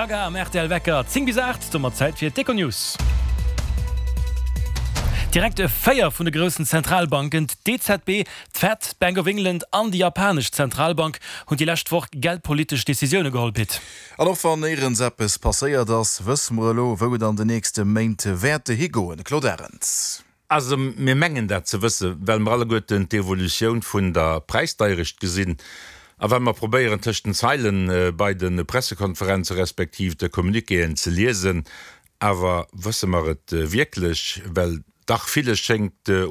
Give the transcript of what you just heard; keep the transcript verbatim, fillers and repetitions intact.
Gaga am rtl Wecker, zéng bis aacht, domat Zäit fir d'Econews. Direkt véier vun de groussen Zentralbanken, d'EZB, d'Fed, d'Bank of England an déi japanesch Zentralbank, hunn déi lescht Woch geldpolitesch Decisioune geholl, Pit. An och wann néierens eppes passéiert ass, wësse mer elo, wou et an de nächste Méint wäert higoen. Claude Arend. Also mir mengen dat ze wëssen, well mer alleguerten d'Evolutioun vun der Präisdeierecht gesinn a well mer probéieren tëscht den Zeilen bei de Pressekonferenze respektiv de Communiquéen ze liesen. Awer wësse mer et wierklech? Well dach villes schéngt un.